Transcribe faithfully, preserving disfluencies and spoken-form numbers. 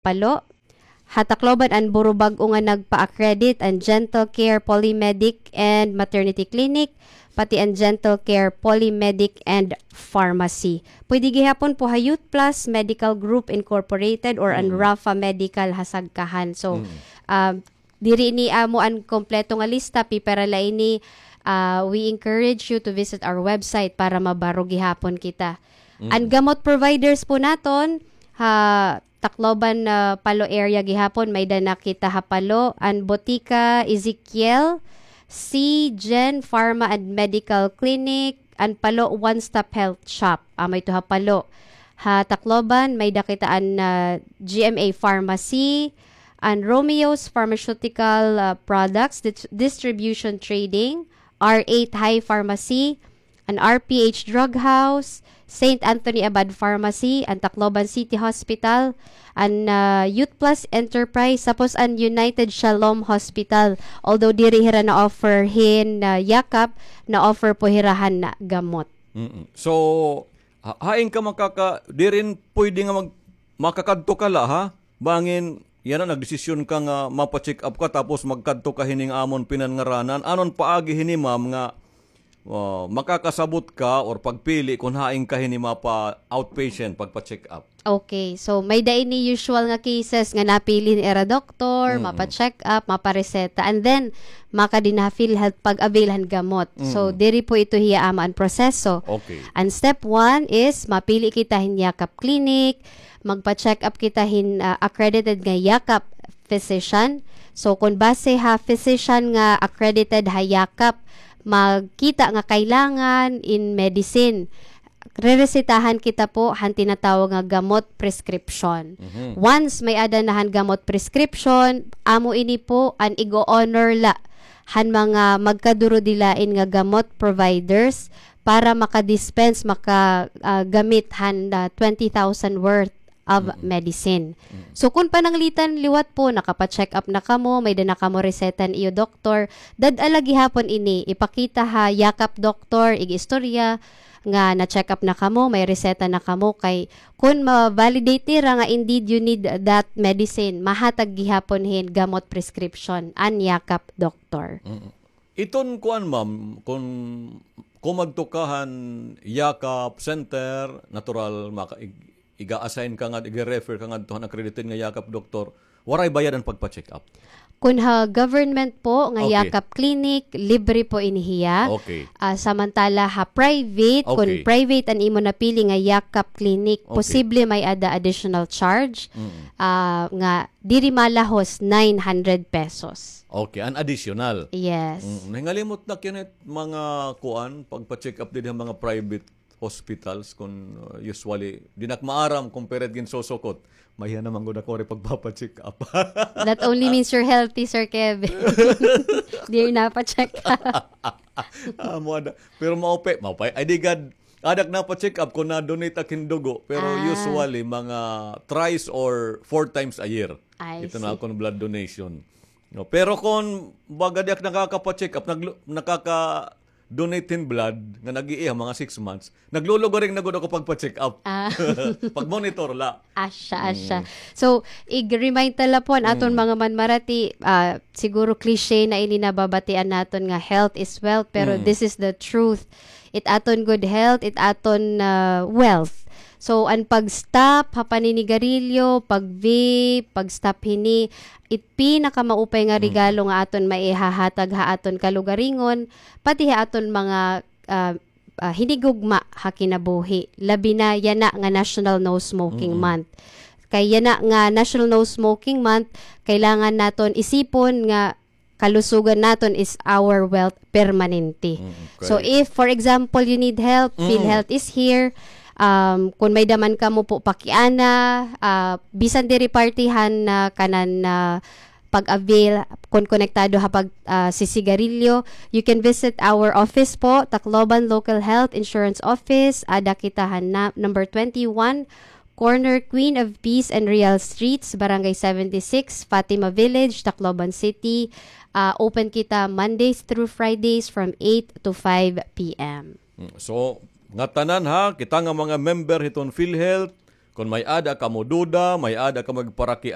Palo. Ha Tacloban an buro bag-o nga nagpa-accredit, an Gentle Care Polymedic and Maternity Clinic, pati an Gentle Care Polymedic and Pharmacy. Pwede gihapon po ha Youth Plus Medical Group Incorporated or an Mm. Rafa Medical ha Sagkahan. So, Mm. um, diri ini amo an kompleto nga lista, pipira la ini, ah, we encourage you to visit our website para mabaro gihapon kita. Mm. An gamot providers po naton, ha Tacloban, ah, Palo area gihapon, may-ada na kita ha Palo, an Botika Ezekiel, C Gen Pharma and Medical Clinic, an Palo One Stop Health Shop. Amo ito ha Palo. Ha Tacloban, may-ada kita an, ah, G M A Pharmacy, an Romeo's Pharmaceutical, ah, Products Dis-, Distribution Trading, R eight High Pharmacy, an R P H Drug House, Saint Anthony Abad Pharmacy, an Tacloban City Hospital, an, ah, Youth Plus Enterprise, tapos an United Shalom Hospital. Although diri hira na-offer hin, ah, yakap, na-offer po hira han gamot. Mm-mm. So, ha-, hain ka makaka-, diri pwede nga mag-, makakadto ka la, ha? Bangin yana nagdesisyon ka nga mapa-check up ka tapos magkadto ka hini nga amon pinanngaranan. Anon paagi hini, ma'am, nga, ah, makakasabot ka or pagpili kon hain ka hini mapa-outpatient, pagpa-check up? Okay. So, may-ada ini usual nga cases nga napili hin ira doktor, Mm. mapa-check up, mapareseta, and then makadi na ha PhilHealth pag-avail han gamot. So, Mm. diri po ito hiya amo an proseso. Okay. An step one is mapili kita hin Yakap Clinic, magpa-check up kita hin, ah, accredited nga Yakap physician. So, kon base ha physician nga accredited ha Yakap, magkita nga kailangan in medicine, reresetahan kita po han tinatawag nga gamot prescription. Mhm. Once may-ada na han gamot prescription, amo ini po an igo-honor la han mga magkadurudilain nga gamot providers para maka-dispense, maka, ah, gamit han, ah, twenty thousand worth of Mm-mm. medicine. Mm. So, kon pananglitan liwat po, nakapa-check up na kamo, may-ada na kamo reseta han iyo doktor, dad-a la gihapon ini, ipakita ha Yakap doktor, ig-istorya nga na-check up na kamo, may reseta na kamo, kay kon ma-validate nira nga indeed you need that medicine, mahatag gihapon hin gamot prescription an Yakap doktor. Mm. Iton kuan, ma'am, kon kumadto ka han Yakap Center, natural, maka-, ig-, iga-assign ka nga, iga-refer ka ngadto han accredited nga Yakap doktor, waray bayad an pagpa-check up? Kon ha government po nga Okay. Yakap Clinic, libre po ini hiya. Okay. Ah, samantala ha private, kon Okay. private an imo napili nga Yakap Clinic, Okay. posible may-ada additional charge, Mm. ah, nga diri malahos nine hundred pesos. Okay, an additional. Yes. Mm, nahingalimot na kinit mga kuan, pagpa-check up diri ha mga private hospitals, kun, uh, usually, di na ak maaram kon pira it ginsosokot. Mahiya naman gud ako diri pagpapa-check up. That only means you're healthy, Sir Kevin. Diri napa-check up. Ah, mo ada. Pero maupay, maupay. Ay, di gad, adak napa-check up kon na-donate ak hin dugo. Pero Ah. usually, mga thrice or four times a year. I Ito na see. akon blood donation. No, pero kon baga di ak nakakapa-check up, naglu-, nakaka-donate hin blood nga nag-iiha mga six months, naglulugaring na gud ako pagpa-check up. Ah. Pag-monitor la. Asya, asya. Mm. So, ig-remind ta la po an aton Mm. mga manmarati, ah, siguro cliche na ini nababatian naton nga health is wealth, pero Mm. this is the truth. It aton good health, it aton, ah, wealth. So, an pag-stop ha paninigarilyo, pag-vape, pag-stop hini, it pinakamaupay nga Mm. regalo nga aton maihahatag ha aton kalugaringon, pati ha aton mga, ah, ah, hinigugma ha kinabuhi. Labi na yana nga National No Smoking Mm-mm. Month. Kay yana nga National No Smoking Month, kailangan naton isipon nga kalusugan naton is our wealth permanente. Mm, okay. So, if, for example, you need help, Mm. PhilHealth is here. Um, kon may-ada man kamo po pakiana, ah, bisan diri parte han, ah, kanan, ah, pag-avail, kon konektado ha pag, ah, sisigarilyo, you can visit our office po, Tacloban Local Health Insurance Office, ada kita han na-, number twenty-one, corner Queen of Peace and Real Streets, Barangay seventy-six, Fatima Village, Tacloban City. Ah, open kita Mondays through Fridays from eight to five P M. Mm, so, ngatanan ha, kita nga mga member hiton PhilHealth, Kon may-ada kamo duda, may-ada kamo igparaki